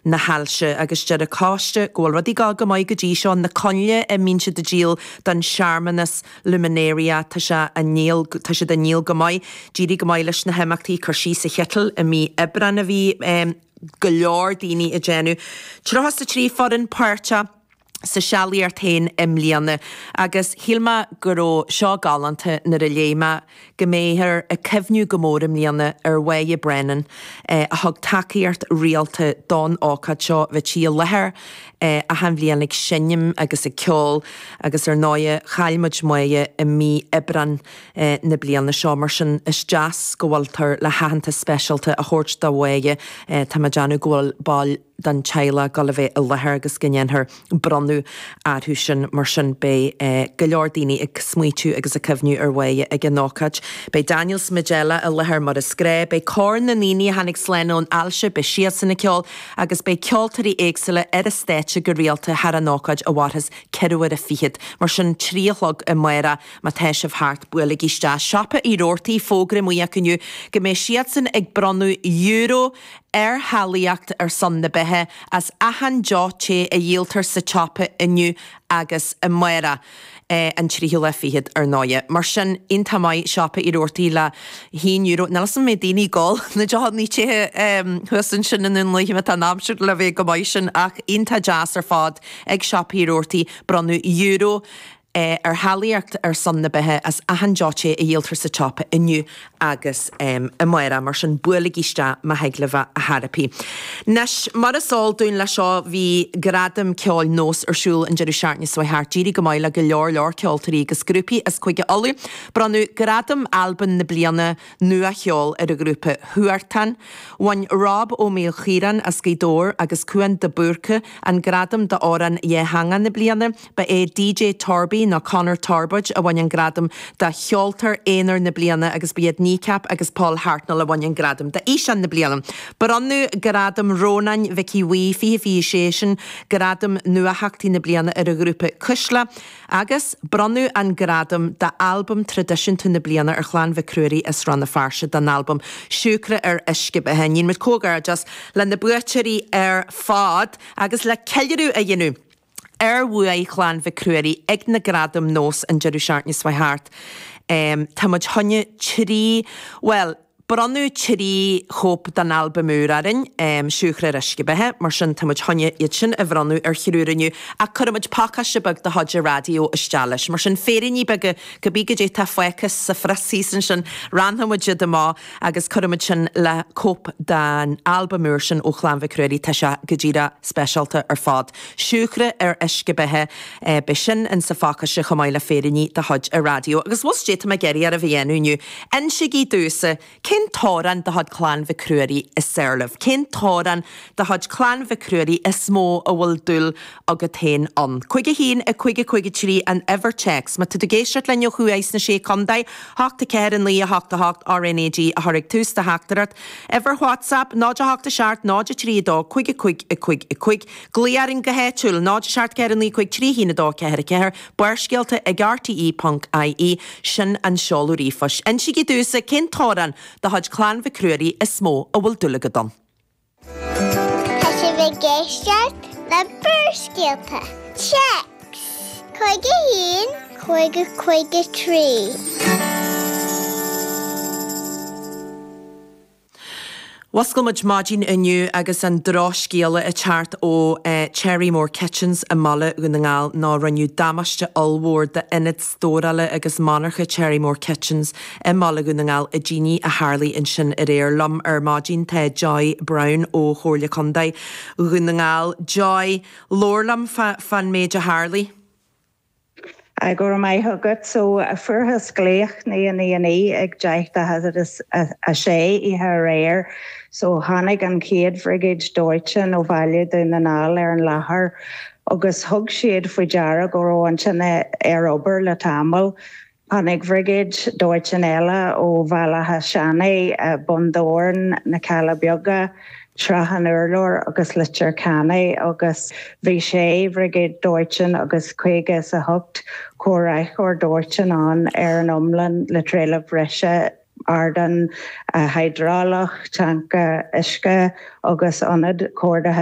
Na hAilse agus deir an coiste go bhfuil rudaí ag dul go maith go dtí seo, na coinnle a mbíonn siad ag díol don searmanas Luminaria, tá sé á ndíol, tá siad á ndíol go maith. D'éirigh go maith leis na himeachtaí cur síos sa chiteal i mí Aibreáin a bhí go leor daoine ag déanamh. 33 foireann páirteach sa sealaíocht féin i mbliana agus shíl mé go raibh seo galánta nuair a léigh mé go mbeifear ag cuimhniú go mór i mbliana ar Mháire Brennan a thug tacaíocht rialta don ócáid seo. Bheadh sí i láthair achan bhliain ag seinm agus ag ceol agus ar ndóighe chaill muid Máire i mí Aibreáin na bliana seo. Mar sin is deas go bhfuiltear le haitheantas speisialta a thabhairt do Mháire. Tá mé ag déanamh go bhfuil baill den teaghlach ag dul a bheith i láthair agus go ndéanfar bronnadh orthu sin. Mar sin beidh go leor daoine ag smaoitiú agus ag cuimhniú ar Mháire ag an ócáid. Beidh Daniel Smadella i láthair mar is gnáth. Beidh cór na ndaoine a tháinig slán ón ailse, beidh siadsan ag ceol agus beidh ceoltóirí éagsúla ar an stáitse go rialta thar an ócáid a mhairfeas ceithre huaire fichead. Mar sin, 3 a chlog amárach má tá sibh thart, buailigí isteach. Siopa Uí Robhartaigh, fógra amuigh acu inniu go mbeidh siadsan ag bronnadh euro ar Shealaíocht ar son na Beatha as achan deoch te a dhíoltar sa tsiopa inniu agus amárach, an tríú lá fichead, ar ndóighe. Mar sin, iontach maith, Siopa Uí Robhartaigh le haon euro. Níl 'fhios a'm an mbeidh daoine ag ól na deochanna te thuas ansin i nDún Lúiche má tá an aimsir le bheith chomh maith sin ach iontach deas ar fad ag Siopa Uí Robhartaigh bronnadh euro ar Shealaíocht ar son na Beatha as achan deoch te a dhíoltar sa tsiopa inniu agus amárach. Mar sin, buailigí isteach má thig libh a theiripí. Anois, mar is eol dúinn leis seo, bhí Gradaim Ceoil Nós ar siúl an deireadh seachtaine seo thart. D'éirigh go maith le go leor leor ceoltóirí agus grúpaí as Cúige Uladh. Bronnadh Gradam Albam na Bliana Nua-Cheoil ar an ghrúpa Huartan. Bhain Rob Ó Maoilchiaráin as Gaoth Dobhair agus Cúán de Búrca an gradam d'Amhrán Dhátheangach na Bliana. Ba é DJ Torby nó Conor Torbóid a bhain an gradam do Cheoltóir Aonair na Bliana agus ba iad Kneecap agus Paul Hartnoll a bhain an gradam d'Fhíseán na Bliana. Bronnadh Gradam Rónáin Mhicí Bhuí 2026, sin gradam Nuatheachtaí na Bliana ar an ghrúpa Cuisle agus bronnadh an gradam d'Albam Traidisiúnta na Bliana ar Chlann Mhic Ruairí as Rann na Feirste don albam Siúcra ar Uisce Beatha. Déanaimid comhghairdeas le na buaiteoirí ar fad agus le ceiliúradh a dhéanamh ar bhuaidh Chlann Mhic Ruairí ag na Gradaim Nós an deireadh seachtaine seo thart. Tá muid choinne trí, bhuel, bronnadh 3 chóip den albam úr orainn, Siúcra ar Uisce Beatha, mar sin tá muid choinne iad sin a bhronnadh ar thriúr inniu ach cuirfidh muid pacáiste beag de chuid an raidió isteach leis. Mar sin, féiríní beaga, cibé goidé atá fágtha sa phrios thíos ansin, roinnfidh muid iad amach agus cuirfidh muid sin le cóip den albam úr sin ó Chlann Mhic Ruairí, tá sé go díreach speisialta ar fad. Siúcra ar uisce beatha, beidh sin in sa phacáiste chomh maith le féiríní de chuid an raidió. Agus bhfuil 's goidé tá mé ag iarraidh oraibh a dhéanamh inniu, insígí domhsa cén t-amhrán de chuid Clann Mhic Ruairí is fearr libh? Cén t-amhrán de chuid Clann Mhic Ruairí is mó a bhfuil dúil agat féin ann? 5 1 5 5 3 an uimhir téacs. Má tá tú ag éisteacht linn ó thuaidh sna Sé Contae, 8 4 9 8 8 RnaG a chur ag tús do theachtaireacht. Uimhir WhatsApp, 0 8 7 0 3 2 5 5 5 5. Glaoigh orainn go háitiúil, 0 7 4 9 5 3 1 2 4 4, Barrscéalta ag rte.ie, sin an seoladh ríomhphoist. Insígí domhsa cén t-amhrán de chuid Clann Mhic Ruairí is mó a bhfuil dúil agat ann. Tá sibh ag éisteacht le Barrscéalta. Téacs 5 1 5 5 3. Mhuscail muid maidin inniu agus an drochscéala ag teacht ó Cherrymore Kitchens i mBaile Dhún na nGall ná rinneadh damáiste ollmhór d'ionad stórála agus monarcha Cherrymore Kitchens i mBaile Dhún na nGall i dtine a tharlaigh ansin aréir. Liom ar maidin tá Joy Browne ó Chomhairle Contae Dhún na nGall. Joy, labhair liom fán méid a tharlaigh. Go raibh maith agat. So, fuarthas glaoch 999 ag 10:46 oíche aréir. So, tháinig an chéad bhriogáid dóiteáin ó Bhaile Dhún na nGall ar an láthair agus thug siad faoi deara go raibh an tine ar obair le tamall. Tháinig bhriogáid dóiteáin eile ó Bhaile Átha Seanaidh, Bun Dobhráin, Na Cealla Beaga, Srath an Urláir agus Leitir Ceanainn agus bhí sé bhriogáid dóiteáin agus 58 comhraiceoir dóiteáin ann ar an iomlán le trealamh breise. Ardán hiodrálach, tanca uisce agus ionad comhordaithe.